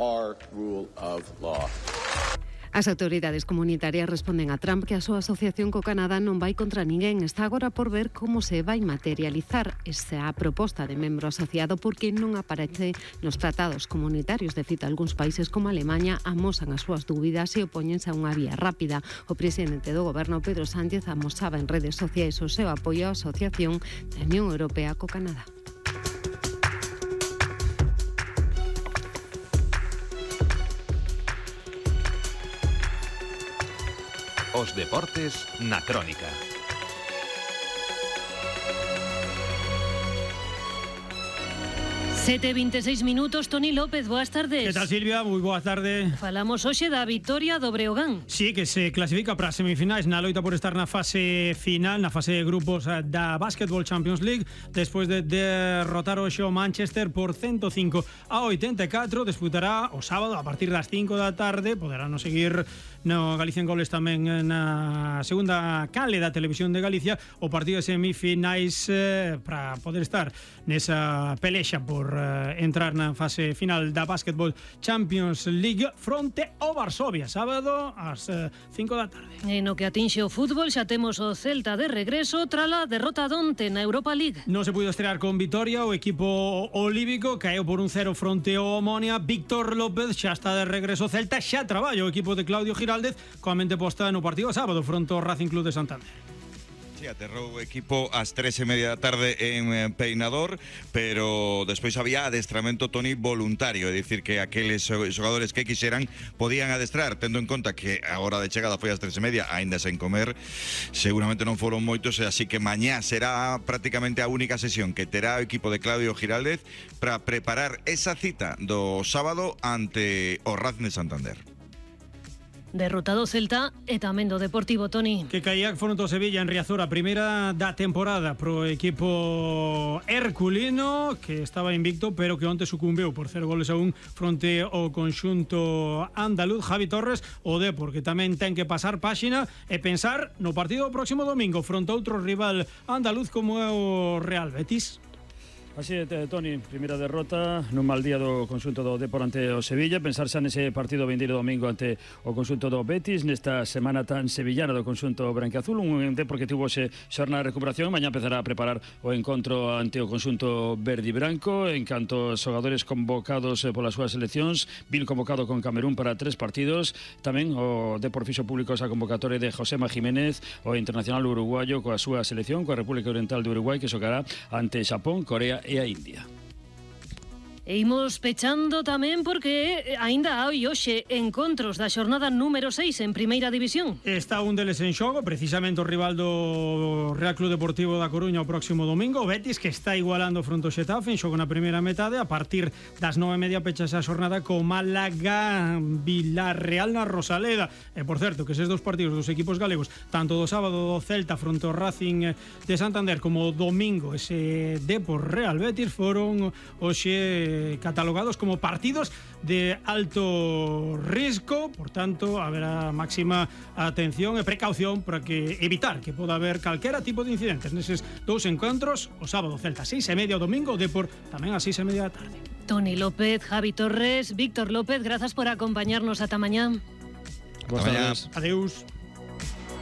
our rule of law. As autoridades comunitarias responden a Trump que a súa asociación co Canadá non vai contra ninguén. Está agora por ver como se vai materializar esa proposta de membro asociado, porque non aparece nos tratados comunitarios. De feito, algúns países como Alemanha amosan as súas dúbidas e opóñense a unha vía rápida. O presidente do goberno, Pedro Sánchez, amosaba en redes sociais o seu apoio á asociación da Unión Europea co Canadá. Os deportes na Crónica. Sete 26 minutos, Toni López, boas tardes. Que tal, Silvia? Moi boa tarde. Falamos hoxe da vitoria do Breogán. Sí, que se clasifica para as semifinais na loita por estar na fase final, na fase de grupos da Basketball Champions League, despois de derrotar hoxe o Manchester por 105-84. Disputará o sábado a partir das 5 da tarde. Poderán seguir no Galicia en Goles tamén na segunda canle da Televisión de Galicia o partido de semifinais para poder estar nesa pelexa por entrar na fase final da Basketball Champions League fronte ao Varsovia, sábado ás 5 da tarde. E no que atinxe o fútbol xa temos o Celta de regreso trala derrota donte na Europa League. Non se puido estrear con vitoria, o equipo olívico caeu por 1-0 fronte ao Omonia. Víctor López xa está de regreso. Celta xa traballa o equipo de Claudio Giraldez coa mente posta no partido sábado fronte ao Racing Club de Santander. Aterrou o equipo ás 3:30 da tarde en Peinador, pero despois había adestramento, Toni, voluntario, é dicir que aqueles xogadores que quixeran podían adestrar, tendo en conta que a hora de chegada foi ás 3:30, aínda sen comer, seguramente non foron moitos, así que mañá será prácticamente a única sesión que terá o equipo de Claudio Giraldez para preparar esa cita do sábado ante o Racing de Santander. Derrotado Celta e tamén do Deportivo, Toni. Que caía fronte ao Sevilla en Riazor, a primeira da temporada pro equipo herculino, que estaba invicto, pero que onte sucumbeu por 0-1 fronte ao conxunto andaluz. Javi Torres, o Depor, que tamén ten que pasar páxina e pensar no partido do próximo domingo fronte a outro rival andaluz como é o Real Betis. Así é, Toni, primeira derrota nun mal día do conxunto do Depor ante o Sevilla. Pensar xa nese partido vindeiro domingo ante o conxunto do Betis, nesta semana tan sevillana do conxunto branquiazul, un Depor que tivo xe xornada de recuperación. Mañá empezará a preparar o encontro ante o conxunto verde e branco. En canto aos xogadores convocados polas súas seleccións, Vil convocado con Camerún para 3 partidos. Tamén o Depor fixo público esa convocatoria de Josema Jiménez, o internacional uruguayo, coa súa selección, coa República Oriental de Uruguai, que xogará ante Xapón, Corea e a India. E imos pechando tamén porque aínda hai hoxe encontros da xornada número 6 en Primeira División. Está un deles en xogo, precisamente o rival do Real Club Deportivo da Coruña o próximo domingo, o Betis, que está igualando fronte ao Xetafe en xogo na primeira metade. A partir das 9:30 pechase a xornada co Málaga Villarreal na Rosaleda. E por certo, que eses dos partidos dos equipos galegos, tanto do sábado do Celta fronte ao Racing de Santander como o domingo ese Depor Real Betis, foron hoxe catalogados como partidos de alto risco. Por tanto, haberá máxima atención e precaución para que evitar que poda haber calquera tipo de incidentes neses dous encontros. O sábado Celta 6:30, o domingo Depor tamén a 6:30 da tarde. Toni López, Javi Torres, Víctor López, grazas por acompañarnos ata mañá. Boas tardes. Adeus.